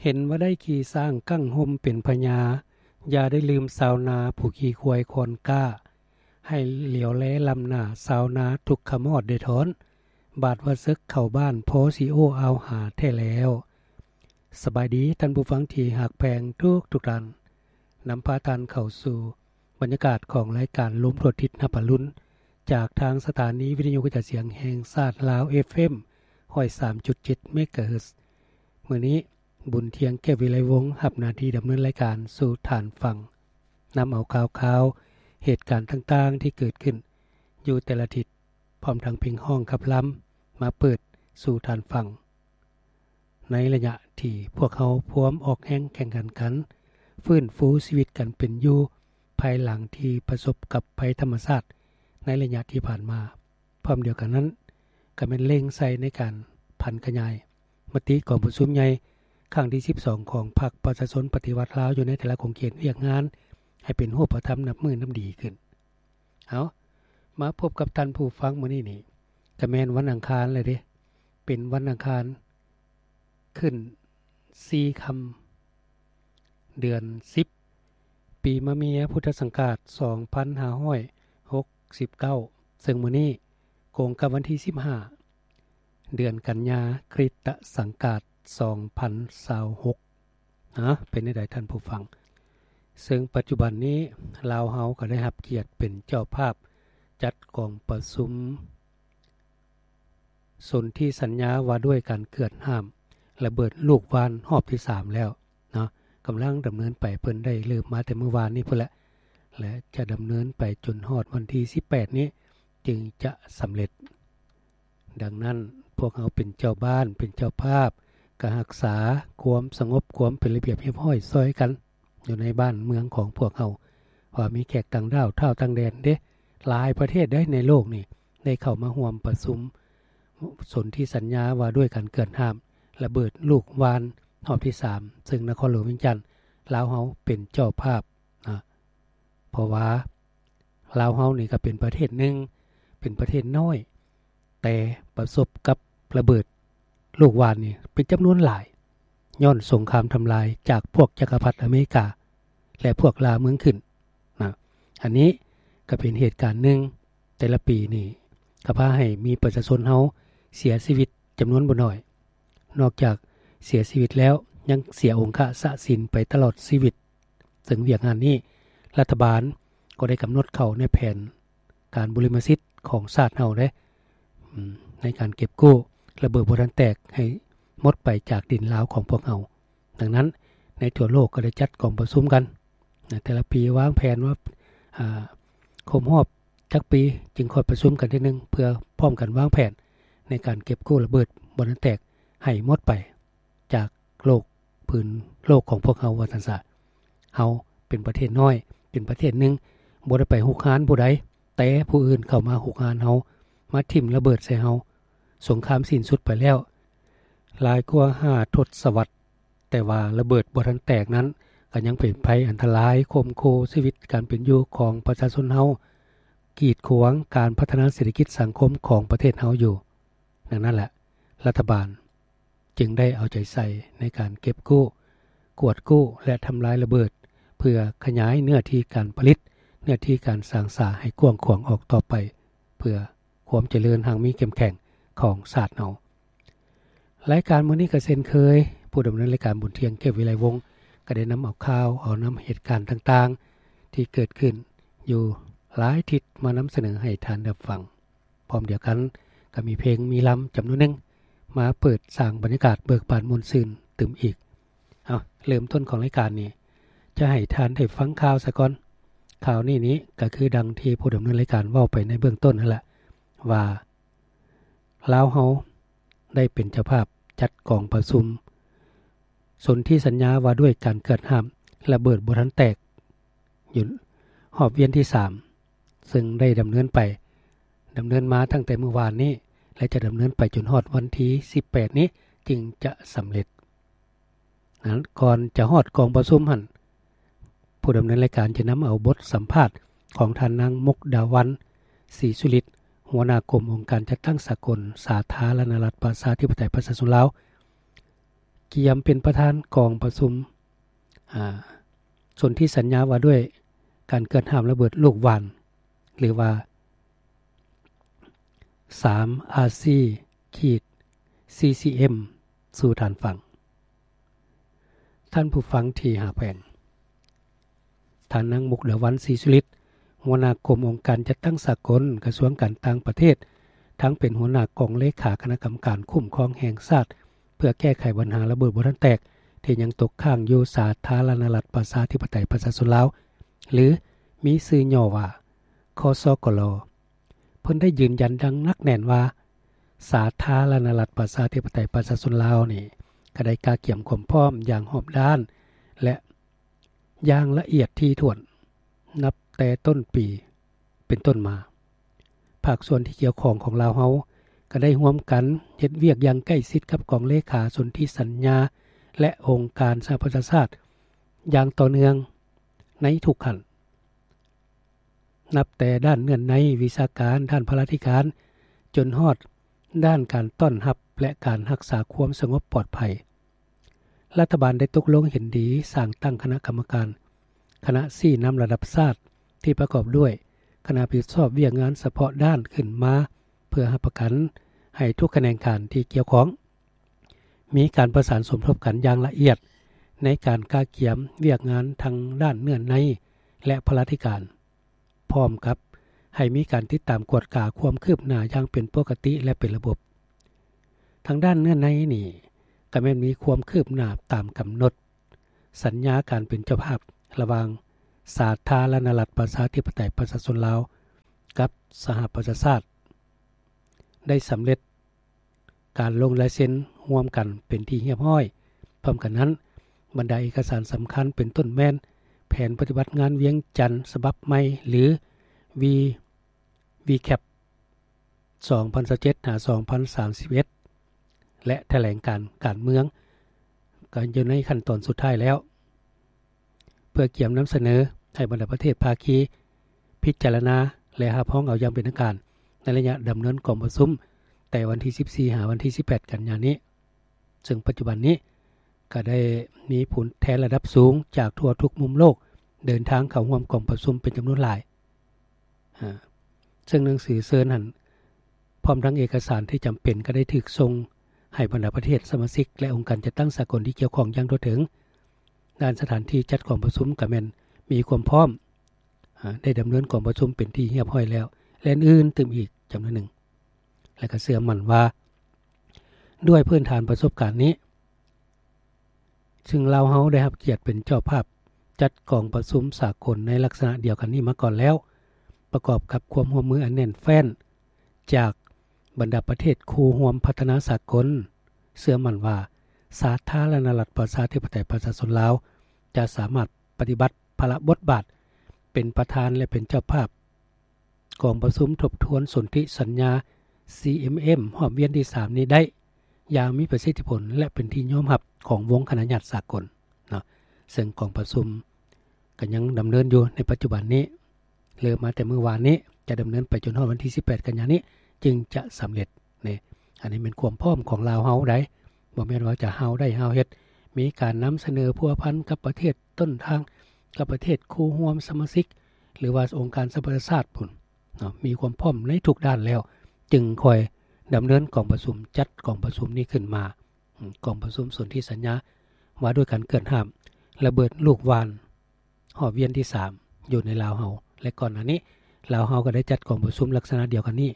ເຫັນວ່າໄດ້ຂີ່ຊ້າງກັ້ງຮົ່ມເປັນພະຍາ, ຢ່າໄດ້ລືມຊາວນາຜູ້ຂີ່ຄວາຍຄອນກ້າ, ໃຫ້ຫຼຽວແລລ້ຳໜ້າຊາວນາທຸກຂະມອດໄດ້ທ້ອນ, ບາດວ່າເສິກເຂົ້າບ້ານພໍຊິໂອ້ອາວຫາແທ້ແລ້ວ. ສະບາຍດີທ່ານຜູ້ຟັງທີ່ຮັກແພງທຸກໆທ່ານ, ນຳພາທ່ານເຂົ້າສູ່ບັນຍາກາດຂອງລາຍການລົມທົ່ວທິດຮັບອະລຸນ ຈາກທາງສະຖານີວິທະຍຸກະຈາຍສຽງແຫ່ງຊາດລາວ ເອຟເອັມ ຮ້ອຍສາມຈຸດເຈັດ ເມກາເຮີດ. ມື້ນີ້ ບຸນທຽງ ແກ້ວວິໄລວົງ ຮັບໜ້າທີ່ດຳເນີນລາຍການສູ່ທ່ານຟັງ, ນຳເອົາຂ່າວຄາວ ເຫດການຕ່າງໆທີ່ເກີດຂຶ້ນຢູ່ແຕ່ລະທິດ, ພ້ອມທັງເພງຮ້ອງຂັບລຳມາເປີດສູ່ທ່ານຟັງ. ໃນໄລຍະທີ່ພວກເຮົາພວມອອກແຮງແຂ່ງຂັນກັນ ຟື້ນຟູຊີວິດການເປັນຢູ່ ພາຍຫຼັງທີ່ປະສົບກັບໄພທຳມະຊາດໃນໄລຍະທີ່ຜ່ານມາ. ພ້ອມດຽວກັນນັ້ນ ກໍແມ່ນເລັ່ງໃສ່ໃນການຜັນຂະຫຍາຍມະຕິກອງປະຊຸມໃຫຍ່ຄັ້ງທີສິບສອງຂອງພັກປະຊາຊົນປະຕິວັດລາວຢູ່ໃນແຕ່ລະຂົງເຂດວຽກງານ ໃຫ້ເປັນຮູບປະທຳນັບມື້ນັບດີຂຶ້ນ. ເອົາ, ມາພົບກັບທ່ານຜູ້ຟັງມື້ນີ້ນີ້ ກະແມ່ນວັນອັງຄານແລ້ວເດ້. ເປັນວັນອັງຄານຂຶ້ນສີ່ຄ່ຳ ເດືອນສິບ ປີມະເມຍ ພຸດທະສັງກາດສອງພັນຫ້າຮ້ອຍຫົກສິບເກົ້າ, ເຊິ່ງມື້ນີ້ກົງກັບວັນທີສິບຫ້າ ເດືອນກັນຍາ ຄຣິສຕະສັງກາດສອງພັນຊາວຫົກ. ເປັນແນວໃດທ່ານຜູ້ຟັງ? ເຊິ່ງປັດຈຸບັນນີ້ລາວເຮົາກໍໄດ້ຮັບກຽດເປັນເຈົ້າພາບຈັດກອງປະຊຸມ ສົນທິສັນຍາວ່າດ້ວຍການເກືອດຫ້າມລະເບີດລູກຫວ່ານຮອບທີສາມແລ້ວເນາະ, ກຳລັງດຳເນີນໄປ, ເພິ່ນໄດ້ເລີ່ມມາແຕ່ມື້ວານນີ້ພຸ້ນແຫຼະ ແລະ ຈະດຳເນີນໄປຈົນຮອດວັນທີສິບແປດນີ້ຈຶ່ງຈະສຳເລັດ. ດັ່ງນັ້ນ ພວກເຮົາເປັນເຈົ້າບ້ານ ເປັນເຈົ້າພາບ ກໍຮັກສາຄວາມສະຫງົບ ຄວາມເປັນລະບຽບຮຽບຮ້ອຍຊ່ອຍກັນ ຢູ່ໃນບ້ານເມືອງຂອງພວກເຮົາ ວ່າມີແຂກຕ່າງດ້າວ ທ້າວຕ່າງແດນເດ້ ຫຼາຍປະເທດໃດໃນໂລກນີ້ ໄດ້ເຂົ້າມາຮ່ວມປະຊຸມສົນທິສັນຍາວ່າດ້ວຍການເກືອດຫ້າມລະເບີດລູກຫວ່ານຮອບທີສາມ ເຊິ່ງນະຄອນຫຼວງວຽງຈັນ ລາວເຮົາເປັນເຈົ້າພາບນະ. ເພາະວ່າລາວເຮົານີ້ກໍເປັນປະເທດໜຶ່ງ ເປັນປະເທດນ້ອຍ ແຕ່ປະສົບກັບລະເບີດລູກຫວ່ານນີ້ເປັນຈຳນວນຫຼາຍ ຍ້ອນສົງຄາມທຳລາຍຈາກພວກຈັກກະພັດອາເມລິກາ ແລະ ພວກລ່າເມືອງຂຶ້ນນະ. ອັນນີ້ກໍເປັນເຫດການໜຶ່ງ ແຕ່ລະປີນີ້ກໍພາໃຫ້ມີປະຊາຊົນເຮົາເສຍຊີວິດຈຳນວນບໍ່ໜ້ອຍ. ນອກຈາກເສຍຊີວິດແລ້ວ ຍັງເສຍອົງຄະສະສິນໄປຕະຫຼອດຊີວິດ. ເຊິ່ງວຽກງານນີ້ ລັດຖະບານກໍໄດ້ກຳນົດເຂົ້າໃນແຜນການບຸລິມະສິດຂອງຊາດເຮົາເດ້ ອາ ໃນການເກັບກູ້ລະເບີດບໍ່ທັນແຕກໃຫ້ໝົດໄປຈາກດິນລາວຂອງພວກເຮົາ. ດັ່ງນັ້ນ ໃນທົ່ວໂລກກໍໄດ້ຈັດກອງປະຊຸມກັນນະ ແຕ່ລະປີວາງແຜນວ່າ ອາ ຄົບຮອບຈັກປີຈຶ່ງຄ່ອຍປະຊຸມກັນເທື່ອໜຶ່ງ ເພື່ອພ້ອມກັນວາງແຜນໃນການເກັບກູ້ລະເບີດບໍ່ທັນແຕກໃຫ້ໝົດໄປ ຈາກໂລກ ພື້ນໂລກຂອງພວກເຮົາວ່າຊັ້ນຊະ. ເຮົາເປັນປະເທດນ້ອຍ ເປັນປະເທດໜຶ່ງ ບໍ່ໄດ້ໄປຮຸກຮານຜູ້ໃດ ແຕ່ຜູ້ອື່ນເຂົ້າມາຮຸກຮານເຮົາ ມາຖິ້ມລະເບີດໃສ່ເຮົາ. ສົງຄາມສິ້ນສຸດໄປແລ້ວຫຼາຍກວ່າຫ້າທົດສະວັດ ແຕ່ວ່າລະເບີດບໍ່ທັນແຕກນັ້ນ ກໍຍັງເປັນໄພອັນຕະລາຍຂົ່ມຂູ່ຊີວິດການເປັນຢູ່ຂອງປະຊາຊົນເຮົາ ກີດຂວາງການພັດທະນາເສດຖະກິດສັງຄົມຂອງປະເທດເຮົາຢູ່. ດັ່ງນັ້ນແຫຼະ ລັດຖະບານ ຈຶ່ງໄດ້ເອົາໃຈໃສ່ໃນການເກັບກູ້, ກວດກູ້ ແລະ ທຳລາຍລະເບີດ ເພື່ອຂະຫຍາຍເນື້ອທີ່ການຜະລິດ, ເນື້ອທີ່ການສ້າງສາໃຫ້ກວ້າງຂວາງອອກຕໍ່ໄປ ເພື່ອຄວາມຈະເລີນຮັ່ງມີເຂັ້ມແຂງຂອງຊາດເຮົາ. ລາຍການມື້ນີ້ກໍເຊັ່ນເຄີຍ, ຜູ້ດຳເນີນລາຍການ ບຸນທຽງ ແກ້ວວິໄລວົງ ກໍໄດ້ນຳເອົາຂ່າວ, ເອົານຳເຫດການຕ່າງໆ ທີ່ເກີດຂຶ້ນຢູ່ຫຼາຍທິດມານຳສະເໜີໃຫ້ທ່ານໄດ້ຟັງ. ພ້ອມດຽວກັນກໍມີເພງມີລຳຈຳນວນໜຶ່ງ ມາເປີດສ້າງບັນຍາກາດເບີກບານມ່ວນຊື່ນຕື່ມອີກ. ເອົາ, ເລີ່ມຕົ້ນຂອງລາຍການນີ້ ຈະໃຫ້ທ່ານໄດ້ຟັງຂ່າວສາກ່ອນ. ຂ່າວນີ້ນີ້ກໍຄືດັ່ງທີ່ຜູ້ດຳເນີນລາຍການເວົ້າໄປໃນເບື້ອງຕົ້ນນັ້ນແຫຼະ ວ່າລາວເຮົາໄດ້ເປັນເຈົ້າພາບຈັດກອງປະຊຸມສົນທິສັນຍາວ່າດ້ວຍການເກືອດຫ້າມລະເບີດບໍ່ທັນແຕກ ຢູ່ຮອບວຽນທີສາມ ເຊິ່ງໄດ້ດຳເນີນໄປ, ດຳເນີນມາຕັ້ງແຕ່ມື້ວານນີ້ ແລະ ຈະດຳເນີນໄປຈົນຮອດວັນທີສິບແປດນີ້ຈຶ່ງຈະສຳເລັດ. ນັ້ນ, ກ່ອນຈະຮອດກອງປະຊຸມຫັ້ນ, ຜູ້ດຳເນີນລາຍການຈະນຳເອົາບົດສຳພາດຂອງທ່ານນາງ ມຸກດາວັນ ສີສຸລິດ ຫົວໜ້າກົມອົງການຈັດຕັ້ງສາກົນສາທາລະນະລັດປະຊາທິປະໄຕປະຊາຊົນລາວ ກຽມເປັນປະທານກອງປະຊຸມ ອາ ສົນທິສັນຍາວ່າດ້ວຍການເກີດຫ້າມລະເບີດລູກຫວ່ານ ຫຼືວ່າ ສາມ ອາຊີ ຂີດ ຊີຊີເອັມ ສູ່ທ່ານຟັງ. ທ່ານຜູ້ຟັງທີ່ຮັກແພງ, ທ່ານນາງ ມຸກດາວັນ ສີສຸລິດ ຫົວໜ້າກົມອົງການຈັດຕັ້ງສາກົນ ກະຊວງການຕ່າງປະເທດ, ທັງເປັນຫົວໜ້າກອງເລຂາຄະນະກຳມະການຄຸ້ມຄອງແຫ່ງຊາດ ເພື່ອແກ້ໄຂບັນຫາລະເບີດບໍ່ທັນແຕກ ທີ່ຍັງຕົກຄ້າງຢູ່ສາທາລະນະລັດ ປະຊາທິປະໄຕ ປະຊາຊົນລາວ ຫຼື ມີຊື່ຫຍໍ້ວ່າ ຄສກລ. ເພິ່ນໄດ້ຢືນຢັນຢ່າງໜັກແໜ້ນວ່າ ສາທາລະນະລັດ ປະຊາທິປະໄຕ ປະຊາຊົນລາວນີ້ ກະໄດ້ກະກຽມຄວາມພ້ອມຢ່າງຮອບດ້ານ ແລະ ຢ່າງລະອຽດຖີ່ຖ້ວນ ນັບແຕ່ຕົ້ນປີເປັນຕົ້ນມາ. ພາກສ່ວນທີ່ກ່ຽວຂ້ອງຂອງລາວເຮົາ ກະໄດ້ຮ່ວມກັນເຮັດວຽກຢ່າງໃກ້ຊິດກັບກອງເລຂາສົນທິສັນຍາ ແລະ ອົງການສະຫະປະຊາຊາດຢ່າງຕໍ່ເນື່ອງໃນທຸກຂັ້ນ. ນັບແຕ່ດ້ານເນື້ອໃນວິຊາການ, ດ້ານພະລາທິການ, ຈົນຮອດດ້ານການຕ້ອນຮັບ ແລະ ການຮັກສາຄວາມສະຫງົບປອດໄພ. ລັດຖະບານໄດ້ຕົກລົງເຫັນດີສ້າງຕັ້ງຄະນະກຳມະການ, ຄະນະຊີ້ນຳລະດັບຊາດ ທີ່ປະກອບດ້ວຍຄະນະຮັບຜິດຊອບວຽກງານສະເພາະດ້ານຂຶ້ນມາ ເພື່ອຮັບປະກັນໃຫ້ທຸກຂະແໜງການທີ່ກ່ຽວຂ້ອງ ມີການປະສານສົມທົບກັນຢ່າງລະອຽດ ໃນການກະກຽມວຽກງານທັງດ້ານເນື້ອໃນ ແລະ ພະລາທິການ, ພ້ອມກັບໃຫ້ມີການຕິດຕາມກວດກາຄວາມຄືບໜ້າຢ່າງເປັນປົກກະຕິ ແລະ ເປັນລະບົບ. ທາງດ້ານເນື້ອໃນນີ້ ກະແມ່ນມີຄວາມຄືບໜ້າຕາມກຳນົດສັນຍາການເປັນເຈົ້າພາບ ລະຫວ່າງສາທາລະນະລັດ ປະຊາທິປະໄຕ ປະຊາຊົນລາວ ກັບສະຫະປະຊາຊາດ ໄດ້ສຳເລັດ ການລົງລາຍເຊັນຮ່ວມກັນເປັນທີ່ຮຽບຮ້ອຍ. ພ້ອມກັນນັ້ນ, ບັນດາເອກະສານສຳຄັນເປັນຕົ້ນແມ່ນ ແຜນປະຕິບັດງານວຽງຈັນສະບັບໃໝ່ ຫຼື ວີ ວີແຄັບ ສອງພັນຊາວເຈັດ ຫາ ສອງພັນສາມສິບເອັດ ແລະ ຖະແຫຼງການການເມືອງ ກໍຢູ່ໃນຂັ້ນຕອນສຸດທ້າຍແລ້ວ. ເພື່ອກຽມນຳສະເໜີໃຫ້ບັນດາປະເທດພາຄີພິຈາລະນາ ແລະ ຮັບຮອງເອົາຢ່າງເປັນທາງການ ໃນໄລຍະດຳເນີນກອງປະຊຸມ ແຕ່ວັນທີສິບສີ່ ຫາ ວັນທີສິບແປດ ກັນຍານີ້, ເຊິ່ງປັດຈຸບັນນີ້ ກໍໄດ້ມີຜູ້ແທນລະດັບສູງຈາກທົ່ວທຸກມຸມໂລກ ເດີນທາງເຂົ້າຮ່ວມກອງປະຊຸມເປັນຈຳນວນຫຼາຍ. ອາ ເຊິ່ງໜັງສືເຊີນຫັ້ນ ພ້ອມທັງເອກະສານທີ່ຈຳເປັນ ກໍໄດ້ຖືກສົ່ງໃຫ້ບັນດາປະເທດສະມາຊິກ ແລະ ອົງການຈັດຕັ້ງສາກົນທີ່ກ່ຽວຂ້ອງຢ່າງທົ່ວເຖິງ. ດ້ານສະຖານທີ່ຈັດກອງປະຊຸມກໍແມ່ນມີຄວາມພ້ອມ ອາ ໄດ້ດຳເນີນກອງປະຊຸມເປັນທີ່ຮຽບຮ້ອຍແລ້ວ ແລະ ອື່ນໆຕື່ມອີກຈຳນວນໜຶ່ງ. ແລະ ກໍເຊື່ອໝັ້ນວ່າ ດ້ວຍພື້ນຖານປະສົບການນີ້ ຊຶ່ງລາວເຮົາໄດ້ຮັບກຽດເປັນເຈົ້າພາບຈັດກອງປະຊຸມສາກົນໃນລັກສະນະດຽວກັນນີ້ມາກ່ອນແລ້ວ, ປະກອບກັບຄວາມຮ່ວມມືອັນແໜ້ນແຟ້ນຈາກບັນດາປະເທດຄູ່ຮ່ວມພັດທະນາສາກົນ, ເຊື່ອໝັ້ນວ່າສາທາລະນະລັດ ປະຊາທິປະໄຕ ປະຊາຊົນລາວ ຈະສາມາດປະຕິບັດພາລະບົດບາດເປັນປະທານ ແລະ ເປັນເຈົ້າພາບ ກອງປະຊຸມທົບທວນສົນທິສັນຍາ ຊີເອັມເອັມ ຮອບວຽນທີສາມນີ້ໄດ້ຢ່າງມີປະສິດທິຜົນ ແລະ ເປັນທີ່ຍອມຮັບຂອງວົງຄະນະຍາດສາກົນເນາະ. ເຊິ່ງກອງປະຊຸມກໍຍັງດຳເນີນຢູ່ໃນປັດຈຸບັນນີ້, ເລີ່ມມາແຕ່ມື້ວານນີ້ ຈະດຳເນີນໄປຈົນຮອດວັນທີສິບແປດ ກັນຍານີ້ ຈຶ່ງຈະສຳເລັດ. ນີ້ ອັນນີ້ແມ່ນຄວາມພ້ອມຂອງລາວເຮົາໃດ໋, ບໍ່ແມ່ນວ່າຈະຫ້າວໄດ້ຫ້າວເຮັດ, ມີການນຳສະເໜີພົວພັນກັບປະເທດຕົ້ນທາງ, ກັບປະເທດຄູ່ຮ່ວມສະມາຊິກ ຫຼືວ່າອົງການສະຫະປະຊາຊາດພຸ້ນເນາະ, ມີຄວາມພ້ອມໃນທຸກດ້ານແລ້ວ ຈຶ່ງຄ່ອຍດຳເນີນກອງປະຊຸມ, ຈັດກອງປະຊຸມນີ້ຂຶ້ນມາ. ອາ ກອງປະຊຸມສົນທິສັນຍາວ່າດ້ວຍການເກີດຫ້າມລະເບີດລູກຫວ່ານ ຮອບວຽນທີສາມ ຢູ່ໃນລາວເຮົາ ແລະ ກ່ອນໜ້ານີ້ ລາວເຮົາກໍໄດ້ຈັດກອງປະຊຸມລັກສະນະດຽວກັນນີ້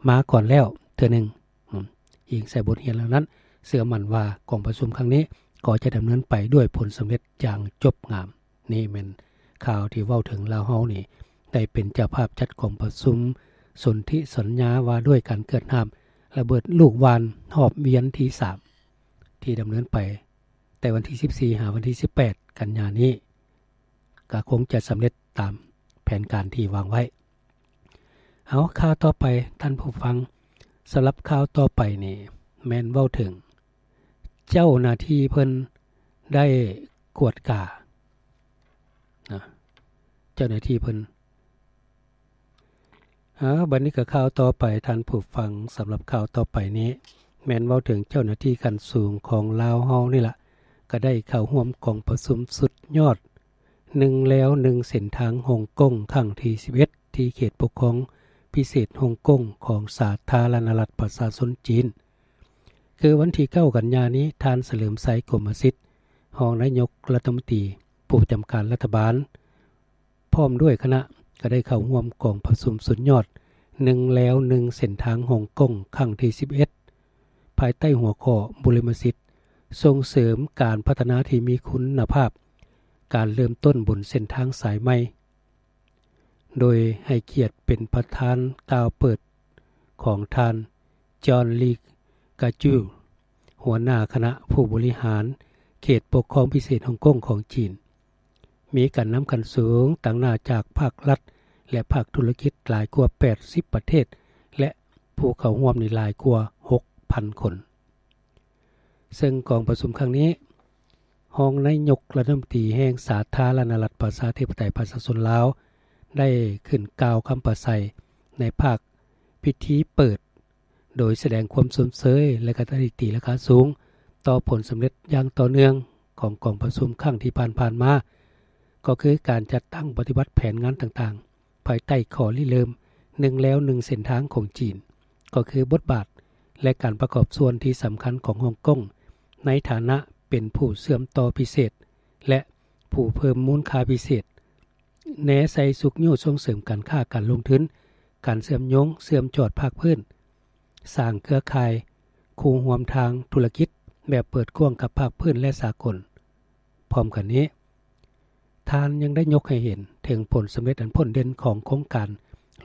ມາກ່ອນແລ້ວເທື່ອໜຶ່ງ. ອາ ອີງໃສ່ບົດຮຽນເຫຼົ່ານັ້ນ, ເຊື່ອໝັ້ນວ່າກອງປະຊຸມຄັ້ງນີ້ກໍຈະດຳເນີນໄປດ້ວຍຜົນສຳເລັດຢ່າງຈົບງາມ. ນີ້ແມ່ນຂ່າວທີ່ເວົ້າເຖິງລາວເຮົານີ້ ໄດ້ເປັນເຈົ້າພາບຈັດກອງປະຊຸມສົນທິສັນຍາວ່າດ້ວຍການເກີດຫ້າມລະເບີດລູກຫວ່ານ ຮອບວຽນທີສາມ ທີ່ດຳເນີນໄປແຕ່ວັນທີສິບສີ່ ຫາ ວັນທີສິບແປດ ກັນຍານີ້ ກໍຄົງຈະສຳເລັດຕາມແຜນການທີ່ວາງໄວ້. ເອົາ ຂ່າວຕໍ່ໄປທ່ານຜູ້ຟັງ, ສຳລັບຂ່າວຕໍ່ໄປນີ້ແມ່ນເວົ້າເຖິງເຈົ້າໜ້າທີ່ເພິ່ນໄດ້ກວດການະ, ເຈົ້າໜ້າທີ່ເພິ່ນ ເອົາ ບັດນີ້ກໍຂ່າວຕໍ່ໄປທ່ານຜູ້ຟັງ, ສຳລັບຂ່າວຕໍ່ໄປນີ້ແມ່ນເວົ້າເຖິງເຈົ້າໜ້າທີ່ຂັ້ນສູງຂອງລາວເຮົານີ້ລະ, ກໍໄດ້ເຂົ້າຮ່ວມກອງປະຊຸມສຸດຍອດ ໜຶ່ງແລວໜຶ່ງເສັ້ນທາງຮົງກົງ ຄັ້ງທີສິບເອັດ ທີ່ເຂດປົກຄອງພິເສດຮົງກົງ ຂອງສາທາລະນະລັດປະຊາຊົນຈີນ. ຄືວັນທີເກົ້າກັນຍານີ້, ທ່ານ ສະເຫຼີມໄຊ ກົມມະສິດ ຮອງນາຍົກລັດຖະມົນຕີ ຜູ້ປະຈຳການລັດຖະບານ ພ້ອມດ້ວຍຄະນະ ກໍໄດ້ເຂົ້າຮ່ວມກອງປະຊຸມສຸດຍອດ ໜຶ່ງແລວໜຶ່ງເສັ້ນທາງຮົງກົງ ຄັ້ງທີສິບເອັດ ພາຍໃຕ້ຫົວຂໍ້ ບູລິມະສິດ ສົ່ງເສີມການພັດທະນາທີ່ມີຄຸນນະພາບ, ການເລີ່ມຕົ້ນບົນເສັ້ນທາງສາຍໃໝ່. ໂດຍໃຫ້ກຽດເປັນປະທານກ່າວເປີດຂອງທ່ານ ຈອນ ລີ ກາຈູ ຫົວໜ້າຄະນະຜູ້ບໍລິຫານເຂດປົກຄອງພິເສດຮົງກົງຂອງຈີນ. ມີການນຳຂັ້ນສູງຕາງໜ້າຈາກພາກລັດ ແລະ ພາກທຸລະກິດຫຼາຍກວ່າແປດສິບປະເທດ ແລະ ຜູ້ເຂົ້າຮ່ວມນີ້ຫຼາຍກວ່າຫົກພັນຄົນ. ເຊິ່ງກອງປະຊຸມຄັ້ງນີ້, ຮອງນາຍົກລັດຖະມົນຕີແຫ່ງສາທາລະນະລັດປະຊາທິປະໄຕປະຊາຊົນລາວ ໄດ້ຂຶ້ນກ່າວຄຳປາໄສໃນພາກພິທີເປີດ, ໂດຍສະແດງຄວາມຊົມເຊີຍ ແລະ ກະຕາລິກຕີລາຄາສູງຕໍ່ຜົນສຳເລັດຢ່າງຕໍ່ເນື່ອງຂອງກອງປະຊຸມຄັ້ງທີ່ຜ່ານໆມາ, ກໍຄືການຈັດຕັ້ງປະຕິບັດແຜນງານຕ່າງໆ ພາຍໃຕ້ຂໍ້ລິເລີ່ມ ໜຶ່ງແລວໜຶ່ງເສັ້ນທາງຂອງຈີນ, ກໍຄືບົດບາດ ແລະ ການປະກອບສ່ວນທີ່ສຳຄັນຂອງຮົງກົງ ໃນຖານະເປັນຜູ້ເຊື່ອມຕໍ່ພິເສດ ແລະ ຜູ້ເພີ່ມມູນຄ່າພິເສດ, ແນໃສ່ຊຸກຍູ້ສົ່ງເສີມການຄ້າການລົງທຶນ, ການເຊື່ອມໂຍງເຊື່ອມຈອດພາກພື້ນ, ສ້າງເຄືອຂ່າຍຄູ່ຮ່ວມທາງທຸລະກິດແບບເປີດກວ້າງກັບພາກພື້ນ ແລະ ສາກົນ. ພ້ອມກັນນີ້, ທ່ານຍັງໄດ້ຍົກໃຫ້ເຫັນເຖິງຜົນສຳເລັດອັນພົ້ນເດັ່ນຂອງໂຄງການ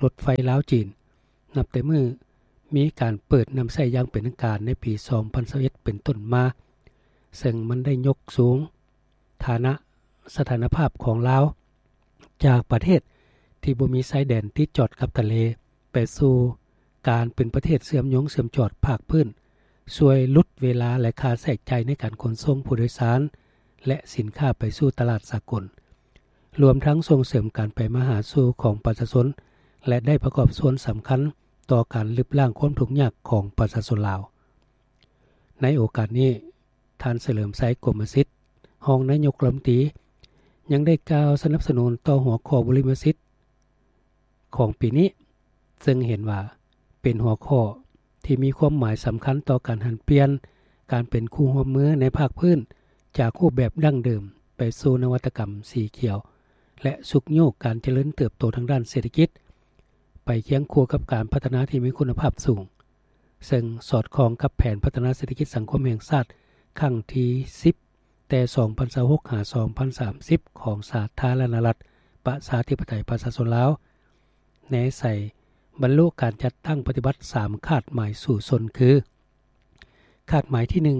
ລົດໄຟລາວ-ຈີນ ນັບແຕ່ມື້ມີການເປີດນຳໃຊ້ຢ່າງເປັນທາງການໃນປີສອງພັນຊາວເອັດເປັນຕົ້ນມາ, ເຊິ່ງມັນໄດ້ຍົກສູງຖານະສະຖານະພາບຂອງລາວ ຈາກປະເທດທີ່ບໍ່ມີຊາຍແດນຕິດຈອດກັບທະເລ ໄປສູ່ການເປັນປະເທດເຊື່ອມໂຍງເຊື່ອມຈອດພາກພື້ນ, ຊ່ວຍຫຼຸດເວລາ ແລະ ຄ່າໃຊ້ຈ່າຍໃນການຂົນສົ່ງຜູ້ໂດຍສານ ແລະ ສິນຄ້າໄປສູ່ຕະຫຼາດສາກົນ, ລວມທັງສົ່ງເສີມການໄປມາຫາສູ່ຂອງປະຊາຊົນ ແລະ ໄດ້ປະກອບສ່ວນສຳຄັນຕໍ່ການລຶບລ້າງຄວາມທຸກຍາກຂອງປະຊາຊົນລາວ. ໃນໂອກາດນີ້, ທ່ານ ສະເຫຼີມໄຊ ກົມມະສິດ ຮອງນາຍົກລັດຖະມົນຕີ ຍັງໄດ້ກ່າວສະໜັບສະໜູນຕໍ່ຫົວຂໍ້ບຸລິມະສິດຂອງປີນີ້, ເຊິ່ງເຫັນວ່າເປັນຫົວຂໍ້ທີ່ມີຄວາມໝາຍສຳຄັນຕໍ່ການຫັນປ່ຽນການເປັນຄູ່ຮ່ວມມືໃນພາກພື້ນ ຈາກຮູບແບບດັ້ງເດີມໄປສູ່ນະວັດຕະກຳສີຂຽວ ແລະ ຊຸກຍູ້ການຈະເລີນເຕີບໂຕທາງດ້ານເສດຖະກິດ ໄປຄຽງຄູ່ກັບການພັດທະນາທີ່ມີຄຸນນະພາບສູງ, ເຊິ່ງສອດຄ່ອງກັບແຜນພັດທະນາເສດຖະກິດສັງຄົມແຫ່ງຊາດຄັ້ງທີສິບ ແຕ່ສອງພັນຊາວຫົກ ຫາ ສອງພັນສາມສິບ ຂອງສາທາລະນະລັດປະຊາທິປະໄຕປະຊາຊົນລາວ, ແນໃສ່ບັນລຸການຈັດຕັ້ງປະຕິບັດສາມຄາດໝາຍສູ້ຊົນ ຄື ຄາດໝາຍທີໜຶ່ງ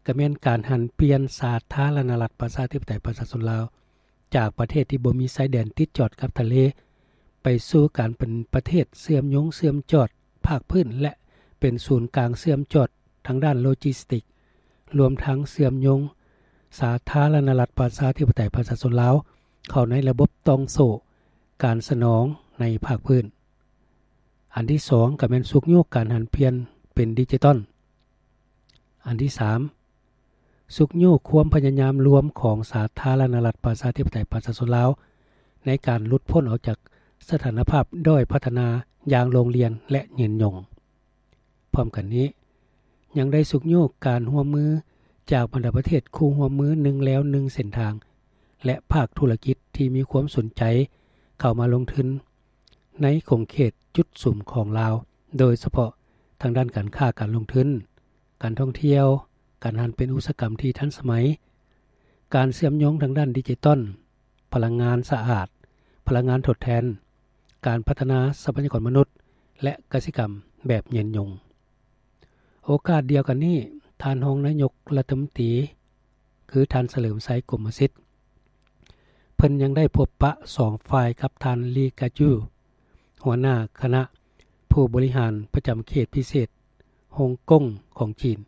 ກະແມ່ນການຫັນປ່ຽນສາທາລະນະລັດປະຊາທິປະໄຕປະຊາຊົນລາວ ຈາກປະເທດທີ່ບໍ່ມີຊາຍແດນຕິດຈອດກັບທະເລ ໄປສູ່ການເປັນປະເທດເຊື່ອມໂຍງເຊື່ອມຈອດພາກພື້ນ ແລະ ເປັນສູນກາງເຊື່ອມຈອດທາງດ້ານໂລຈິສຕິກ, ລວມທັງເຊື່ອມໂຍງສາທາລະນະລັດປະຊາທິປະໄຕປະຊາຊົນລາວ ເຂົ້າໃນລະບົບຕ່ອງໂສ້ການສະໜອງໃນພາກພື້ນ. ອັນທີສອງ ກະແມ່ນຊຸກຍູ້ການຫັນປ່ຽນເປັນດິຈິຕອນ. ອັນທີສາມ ຊຸກຍູ້ຄວາມພະຍາຍາມລວມຂອງສາທາລະນະລັດປະຊາທິປະໄຕປະຊາຊົນລາວ ໃນການຫຼຸດພົ້ນອອກຈາກສະຖານະພາບດ້ອຍພັດທະນາຢ່າງໂລງລຽນ ແລະ ຍືນຍົງ. ພ້ອມກັນນີ້, ຍັງໄດ້ຊຸກຍູ້ການຮ່ວມມືຈາກບັນດາປະເທດຄູ່ຮ່ວມມືໜຶ່ງແລວໜຶ່ງເສັ້ນທາງ ແລະ ພາກທຸລະກິດທີ່ມີຄວາມສົນໃຈເຂົ້າມາລົງທຶນໃນຂົງເຂດຈຸດສຸມຂອງລາວ, ໂດຍສະເພາະທາງດ້ານການຄ້າການລົງທຶນ, ການທ່ອງທ່ຽວ, ການຫັນເປັນອຸດສາຫະກຳທີ່ທັນສະໄໝ, ການເຊື່ອມໂຍງທາງດ້ານດິຈິຕອນ, ພະລັງງານສະອາດ, ພະລັງງານທົດແທນ, ການພັດທະນາຊັບພະຍາກອນມະນຸດ ແລະ ກະສິກຳແບບຍືນຍົງ. ໂອກາດດຽວກັນນີ້, ທ່ານຮອງນາຍົກລັດຖະມົນຕີ ຄືທ່ານ ສະເຫຼີມໄຊ ກົມມະສິດ, ເພິ່ນຍັງໄດ້ພົບປະສອງຝ່າຍກັບທ່ານ ລີ ກາຈູ ຫົວໜ້າຄະນະຜູ້ບໍລິຫານປະຈຳເຂດພິເສດຮົງກົງຂອງຈີນ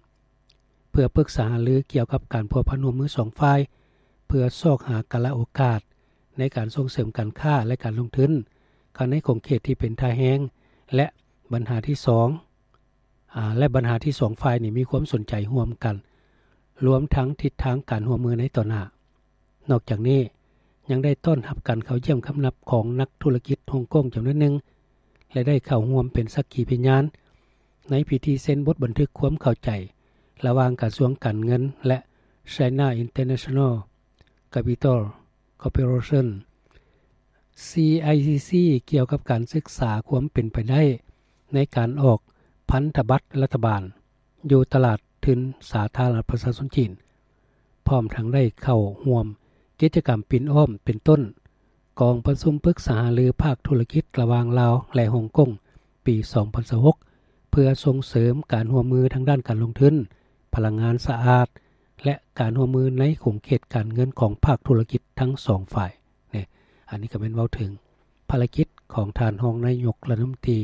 ເພື່ອປຶກສາຫາລືກ່ຽວກັບການພົວພັນຮ່ວມມືສອງຝ່າຍ ເພື່ອຊອກຫາກາລະໂອກາດໃນການສົ່ງເສີມການຄ້າ ແລະ ການລົງທຶນເຂົ້າໃນຂົງເຂດທີ່ເປັນທ່າແຮງ ແລະ ບັນຫາທີ່ສອງ ອາ ແລະ ບັນຫາທີ່ສອງຝ່າຍນີ້ມີຄວາມສົນໃຈຮ່ວມກັນ, ລວມທັງທິດທາງການຮ່ວມມືໃນຕໍ່ໜ້າ. ນອກຈາກນີ້ ຍັງໄດ້ຕ້ອນຮັບການເຂົ້າຢ້ຽມຄຳນັບຂອງນັກທຸລະກິດຮົງກົງຈຳນວນໜຶ່ງ ແລະ ໄດ້ເຂົ້າຮ່ວມເປັນສັກຂີພະຍານໃນພິທີເຊັນບົດບັນທຶກຄວາມເຂົ້າໃຈລະຫວ່າງກະຊວງການເງິນ ແລະ China International Capital Corporation CICC ກ່ຽວກັບການສຶກສາຄວາມເປັນໄປໄດ້ໃນການອອກພັນທະບັດລັດຖະບານຢູ່ຕະຫຼາດທຶນສາທາລະນະລັດປະຊາຊົນຈີນ ພ້ອມທັງໄດ້ເຂົ້າຮ່ວມກິດຈະກຳປິ່ນອ້ອມ ເປັນຕົ້ນ ກອງປະຊຸມປຶກສາຫາລືພາກທຸລະກິດລະຫວ່າງລາວ ແລະ ຮົງກົງ ປີສອງພັນຊາວຫົກ ເພື່ອສົ່ງເສີມການຮ່ວມມືທາງດ້ານການລົງທຶນ, ພະລັງງານສະອາດ ແລະ ການຮ່ວມມືໃນຂົງເຂດການເງິນຂອງພາກທຸລະກິດທັງສອງຝ່າຍ. ນີ້ ອັນນີ້ກໍແມ່ນເວົ້າເຖິງພາລະກິດຂອງທ່ານຮອງນາຍົກລັດຖະມົນຕີ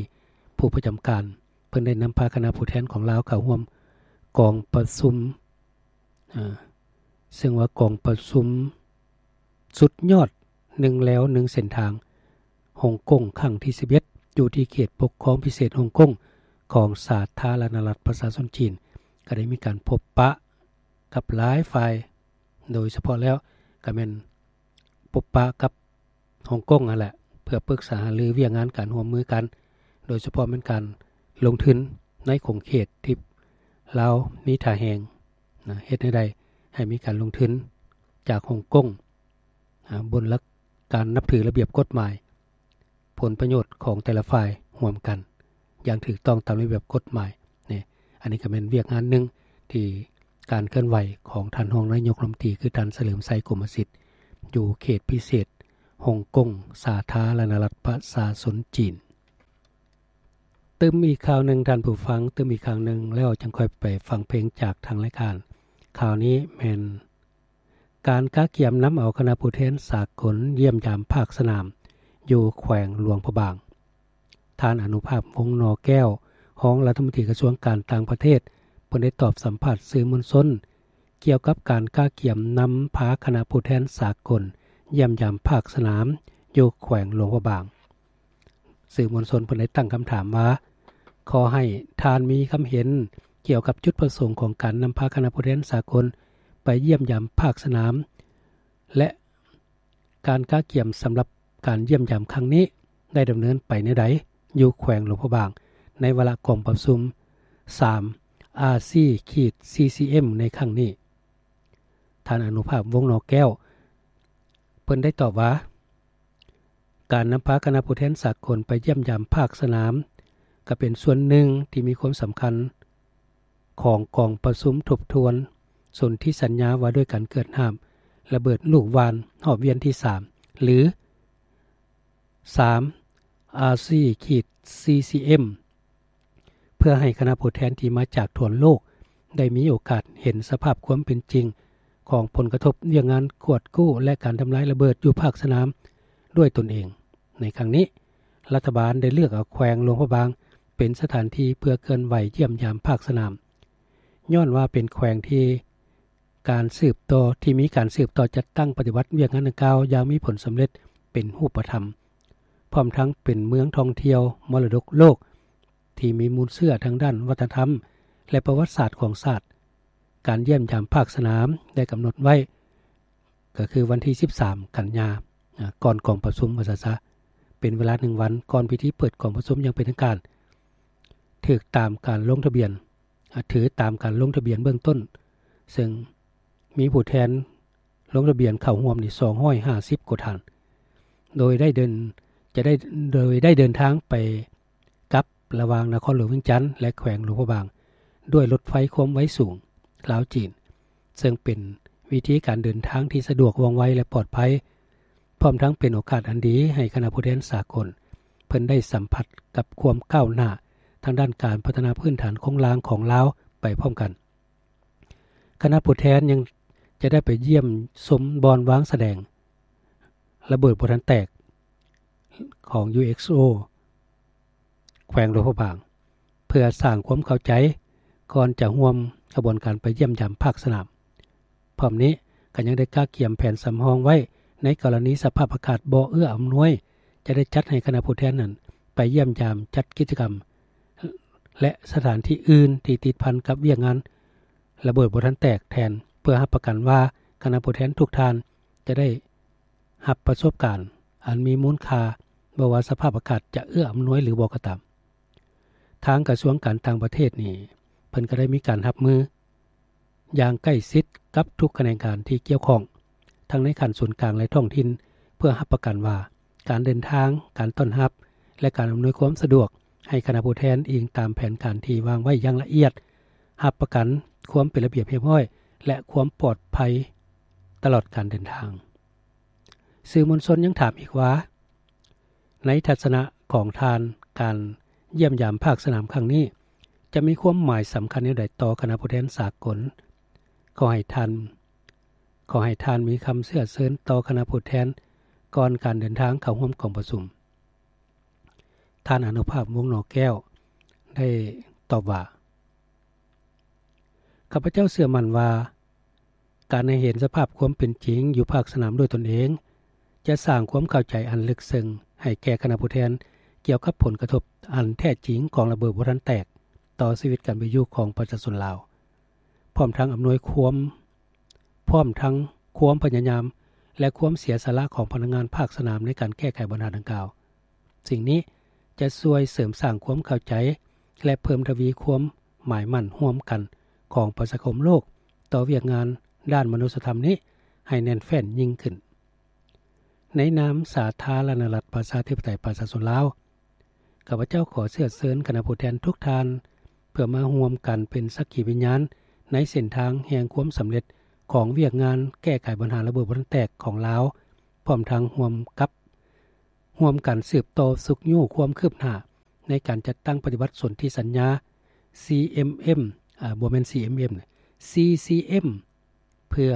ຜູ້ປະຈຳການ ເພິ່ນໄດ້ນຳພາຄະນະຜູ້ແທນຂອງລາວເຂົ້າຮ່ວມກອງປະຊຸມ ເຊິ່ງວ່າກອງປະຊຸມສຸດຍອດໜຶ່ງແລວໜຶ່ງເສັ້ນທາງຮົງກົງຄັ້ງທີສິບເອັດ ຢູ່ທີ່ເຂດປົກຄອງພິເສດຮົງກົງຂອງສາທາລະນະລັດປະຊາຊົນຈີນ ກໍໄດ້ມີການພົບປະກັບຫຼາຍຝ່າຍ ໂດຍສະເພາະແລ້ວກໍແມ່ນ ພົບປະກັບຮົງກົງຫັ້ນແຫຼະ ເພື່ອປຶກສາຫາລືວຽກງານການຮ່ວມມືກັນ ໂດຍສະເພາະແມ່ນການລົງທຶນໃນຂົງເຂດທີ່ລາວມີທ່າແຮງນະ ເຮັດແນວໃດໃຫ້ມີການລົງທຶນຈາກຮົງກົງ ອາ ບົນຫຼັກການນັບຖືລະບຽບກົດໝາຍ ຜົນປະໂຫຍດຂອງແຕ່ລະຝ່າຍຮ່ວມກັນ ຢ່າງຖືກຕ້ອງຕາມລະບຽບກົດໝາຍ. ນີ້ ອັນນີ້ກໍແມ່ນວຽກງານໜຶ່ງທີ່ການເຄື່ອນໄຫວຂອງທ່ານຮອງນາຍົກລັດຖະມົນຕີ ຄືທ່ານສະເຫຼີມໄຊ ກົມມະສິດ ຢູ່ເຂດພິເສດຮົງກົງ ສາທາລະນະລັດປະຊາຊົນຈີນ. ຕື່ມອີກຂ່າວໜຶ່ງທ່ານຜູ້ຟັງ, ຕື່ມອີກຂ່າວໜຶ່ງແລ້ວຈັ່ງຄ່ອຍໄປຟັງເພງຈາກທາງລາຍການ. ຂ່າວນີ້ແມ່ນ ການກະກຽມນຳເອົາຄະນະຜູ້ແທນສາກົນຢ້ຽມຢາມພາກສະໜາມຢູ່ແຂວງຫຼວງພະບາງ. ທ່ານ ອະນຸພາບ ວົງໜໍແກ້ວ ຮອງລັດຖະມົນຕີກະຊວງການຕ່າງປະເທດ ເພິ່ນໄດ້ຕອບສຳພາດສື່ມວນຊົນ ກ່ຽວກັບການກະກຽມນຳພາຄະນະຜູ້ແທນສາກົນຢ້ຽມຢາມພາກສະໜາມຢູ່ແຂວງຫຼວງພະບາງ. ສື່ມວນຊົນເພິ່ນໄດ້ຕັ້ງຄຳຖາມວ່າ ຂໍໃຫ້ທ່ານມີຄຳເຫັນກ່ຽວກັບຈຸດປະສົງຂອງການນຳພາຄະນະຜູ້ແທນສາກົນໄປຢ້ຽມຢາມພາກສະໜາມ ແລະ ການກະກຽມສຳລັບການຢ້ຽມຢາມຄັ້ງນີ້ໄດ້ດຳເນີນໄປແນວໃດຢູ່ແຂວງຫຼວງພະບາງ ໃນວາລະກອງປະຊຸມ ສາມ ອາຊີ ຂີດ ຊີຊີເອັມ ໃນຄັ້ງນີ້. ທ່ານ ອະນຸພາບ ວົງໜໍແກ້ວ ເພິ່ນໄດ້ຕອບວ່າ ການນຳພາຄະນະຜູ້ແທນສາກົນໄປຢ້ຽມຢາມພາກສະໜາມ ກໍເປັນສ່ວນໜຶ່ງທີ່ມີຄວາມສຳຄັນຂອງກອງປະຊຸມທົບທວນສົນທິສັນຍາວ່າດ້ວຍການເກີດຫ້າມລະເບີດລູກຫວ່ານຮອບວຽນທີສາມ ຫຼື ສາມ ອາຊີ ຂີດ ຊີຊີເອັມ ເພື່ອໃຫ້ຄະນະຜູ້ແທນທີ່ມາຈາກທົ່ວໂລກ ໄດ້ມີໂອກາດເຫັນສະພາບຄວາມເປັນຈິງຂອງຜົນກະທົບວຽກງານກວດກູ້ ແລະ ການທຳລາຍລະເບີດຢູ່ພາກສະໜາມດ້ວຍຕົນເອງ. ໃນຄັ້ງນີ້, ລັດຖະບານໄດ້ເລືອກເອົາແຂວງຫຼວງພະບາງເປັນສະຖານທີ່ເພື່ອເຄື່ອນໄຫວຢ້ຽມຢາມພາກສະໜາມ, ຍ້ອນວ່າເປັນແຂວງທີ່ ການສືບຕໍ່ ທີ່ມີການສືບຕໍ່ຈັດຕັ້ງປະຕິບັດວຽກງານດັ່ງກ່າວຢ່າງມີຜົນສຳເລັດເປັນຮູບປະທຳ, ພ້ອມທັງເປັນເມືອງທ່ອງທ່ຽວມໍລະດົກໂລກທີ່ມີມູນເຊື້ອທາງດ້ານວັດທະນະທຳ ແລະ ປະຫວັດສາດຂອງຊາດ. ການຢ້ຽມຢາມພາກສະໜາມໄດ້ກຳນົດໄວ້ ກໍຄືວັນທີສິບສາມ ກັນຍາ ກ່ອນກອງປະຊຸມ ວ່າຊັ້ນຊະ, ເປັນເວລາໜຶ່ງວັນກ່ອນພິທີເປີດກອງປະຊຸມຢ່າງເປັນທາງການ, ຖືກຕາມການລົງທະບຽນ ອາ ຖືຕາມການລົງທະບຽນເບື້ອງຕົ້ນ, ເຊິ່ງມີຜູ້ແທນລົງທະບຽນເຂົ້າຮ່ວມນີ້ ສອງຮ້ອຍຫ້າສິບກວ່າທ່ານ, ໂດຍໄດ້ເດີນ ຈະໄດ້ ໂດຍໄດ້ເດີນທາງໄປກັບລະຫວ່າງນະຄອນຫຼວງວຽງຈັນ ແລະ ແຂວງຫຼວງພະບາງ ດ້ວຍລົດໄຟຄວາມໄວສູງລາວ-ຈີນ, ເຊິ່ງເປັນວິທີການເດີນທາງທີ່ສະດວກ ວ່ອງໄວ ແລະ ປອດໄພ. ພ້ອມທັງເປັນໂອກາດອັນດີໃຫ້ຄະນະຜູ້ແທນສາກົນ ເພິ່ນໄດ້ສຳຜັດກັບຄວາມກ້າວໜ້າທາງດ້ານການພັດທະນາພື້ນຖານໂຄງລ່າງຂອງລາວໄປພ້ອມກັນ. ຄະນະຜູ້ແທນຍັງຈະໄດ້ໄປຢ້ຽມຊົມບ່ອນວາງສະແດງລະເບີດບໍ່ທັນແຕກຂອງ UXO ແຂວງຫຼວງພະບາງ ເພື່ອສ້າງຄວາມເຂົ້າໃຈກ່ອນຈະຮ່ວມຂະບວນການໄປຢ້ຽມຢາມພາກສະໜາມ. ພ້ອມນີ້ກໍຍັງໄດ້ກະກຽມແຜນສຳຮອງໄວ້ ໃນກໍລະນີສະພາບອາກາດບໍ່ເອື້ອອຳນວຍ, ຈະໄດ້ຈັດໃຫ້ຄະນະຜູ້ແທນນັ້ນໄປຢ້ຽມຢາມ, ຈັດກິດຈະກຳ ແລະ ສະຖານທີ່ອື່ນທີ່ຕິດພັນກັບວຽກງານລະເບີດບໍ່ທັນແຕກແທນ ພື່ອຮັບປະກັນວ່າຄະນະຜູ້ແທນທຸກທ່ານຈະໄດ້ຮັບປະສົບການອັນມີມູນຄ່າ ບໍ່ວ່າສະພາບອາກາດຈະເອື້ອອຳນວຍຫຼືບໍ່ກໍຕາມ. ທາງກະຊວງການຕ່າງປະເທດນີ້ ເພິ່ນກໍໄດ້ມີການຮັບມືຢ່າງໃກ້ຊິດກັບທຸກຂະແໜງການທີ່ກ່ຽວຂ້ອງ ທັງໃນຂັ້ນສູນກາງ ແລະ ທ້ອງຖິ່ນ ເພື່ອຮັບປະກັນວ່າ ການເດີນທາງ, ການຕ້ອນຮັບ ແລະ ການອຳນວຍຄວາມສະດວກໃຫ້ຄະນະຜູ້ແທນ ອີງຕາມແຜນການທີ່ວາງໄວ້ຢ່າງລະອຽດ, ຮັບປະກັນຄວາມເປັນລະບຽບຮຽບຮ້ອຍ ແລະ ຄວາມປອດໄພຕະຫຼອດການເດີນທາງ. ສື່ມວນຊົນຍັງຖາມອີກວ່າ ໃນທັດສະນະຂອງທ່ານ, ການຢ້ຽມຢາມພາກສະໜາມຄັ້ງນີ້ ຈະມີຄວາມໝາຍສຳຄັນແນວໃດຕໍ່ຄະນະຜູ້ແທນສາກົນ? ຂໍໃຫ້ທ່ານ, ຂໍໃຫ້ທ່ານມີຄຳເຊື້ອເຊີນຕໍ່ຄະນະຜູ້ແທນກ່ອນການເດີນທາງເຂົ້າຮ່ວມກອງປະຊຸມ. ທ່ານອານຸພາບ ວົງໜໍແກ້ວ ໄດ້ຕອບວ່າ ຂ້າພະເຈົ້າເຊື່ອໝັ້ນວ່າ ການໃຫ້ເຫັນສະພາບຄວາມເປັນຈິງຢູ່ພາກສະໜາມດ້ວຍຕົນເອງ ຈະສ້າງຄວາມເຂົ້າໃຈອັນເລິກເຊິ່ງໃຫ້ແກ່ຄະນະຜູ້ແທນ ກ່ຽວກັບຜົນກະທົບອັນແທ້ຈິງຂອງລະເບີດບໍ່ທັນແຕກ ຕໍ່ຊີວິດການເປັນຢູ່ຂອງປະຊາຊົນລາວ, ພ້ອມທັງອຳນວຍຄວາມ, ພ້ອມທັງຄວາມພະຍາຍາມ ແລະ ຄວາມເສຍສະຫຼະຂອງພະນັກງານພາກສະໜາມໃນການແກ້ໄຂບັນຫາດັ່ງກ່າວ. ສິ່ງນີ້ຈະຊ່ວຍເສີມສ້າງຄວາມເຂົ້າໃຈ ແລະ ເພີ່ມທະວີຄວາມໝາຍໝັ້ນຮ່ວມກັນຂອງປະຊາຄົມໂລກຕໍ່ວຽກງານດ້ານມະນຸດສະທຳນີ້ໃຫ້ແໜ້ນແຟ້ນຍິ່ງຂຶ້ນ. ໃນນາມສາທາລະນະລັດ ປະຊາທິປະໄຕ ປະຊາຊົນລາວ, ຂ້າພະເຈົ້າຂໍເຊື້ອເຊີນຄະນະຜູ້ແທນທຸກທ່ານ ເພື່ອມາຮ່ວມກັນເປັນສັກຂີວິນຍານໃນເສັ້ນທາງແຫ່ງຄວາມສຳເລັດຂອງວຽກງານແກ້ໄຂບັນຫາລະເບີດບໍ່ທັນແຕກຂອງລາວ, ພ້ອມທັງຮ່ວມກັບ ຮ່ວມກັນສືບຕໍ່ຊຸກຍູ້ຄວາມຄືບໜ້າໃນການຈັດຕັ້ງປະຕິບັດສົນທິສັນຍາ ຊີເອັມເອັມ ອາ ບໍ່ແມ່ນ ຊີເອັມເອັມ ຊີຊີເອັມ ເພື່ອ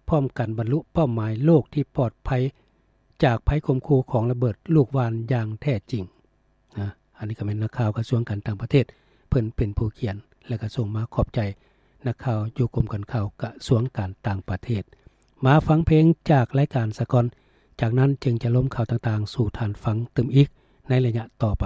ພ້ອມກັນບັນລຸເປົ້າໝາຍໂລກທີ່ປອດໄພຈາກໄພຂົ່ມຂູ່ຂອງລະເບີດລູກຫວ່ານຢ່າງແທ້ຈິງ. ນະ ອັນນີ້ກໍແມ່ນນັກຂ່າວກະຊວງການຕ່າງປະເທດ ເພິ່ນເປັນຜູ້ຂຽນ ແລະ ກໍສົ່ງມາ. ຂອບໃຈນັກຂ່າວຢູ່ກົມການຂ່າວກະຊວງການຕ່າງປະເທດ. ມາຟັງເພງຈາກລາຍການສາກ່ອນ, ຈາກນັ້ນຈຶ່ງຈະລົມຂ່າວຕ່າງໆສູ່ທ່ານຟັງຕື່ມອີກໃນໄລຍະຕໍ່ໄປ.